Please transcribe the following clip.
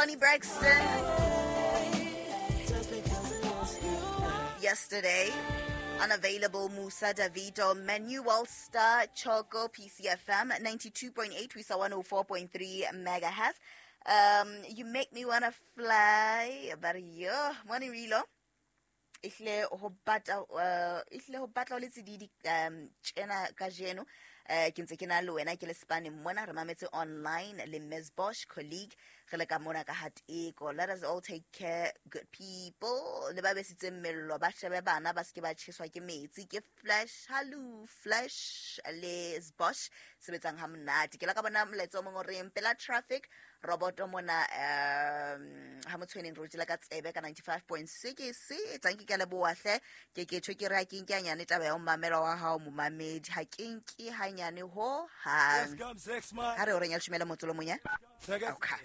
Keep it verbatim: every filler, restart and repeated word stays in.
Toni Braxton. Yesterday. Unavailable Musa Davido, Manuel Star, Choco, P C F M, ninety-two point eight, we saw one oh four point three megahertz. Um, you make me wanna fly, but yo, money relo. Ihle ho batla, ihle ho batla le tsididi um tjena kajeno. Eh, ke ntse ke na le wena ke le Spane mona re mametse online le Miz Bosch colleague re le ka mona ka Hateko. Let us all take care, good people. Le ba besitseng mello ba shebe bana ba seke ba tjheswa ke metsi. Ke Flash, hello Flash le Bosch sebetsang ha monate. Ke la ka bona molaetsa o mong o reng pela traffic roboto mona um ha motshweneng re tjela ka tsebe ka ninety-five point six. Tsanki ke leboha hle ke ke tjho ke re ha ke nke hanyane taba ya ho mamela wa hao momamedi ha ke nke hanyane ho hang. Ha re o reng ya leshome le motso lo mong ya? Okay.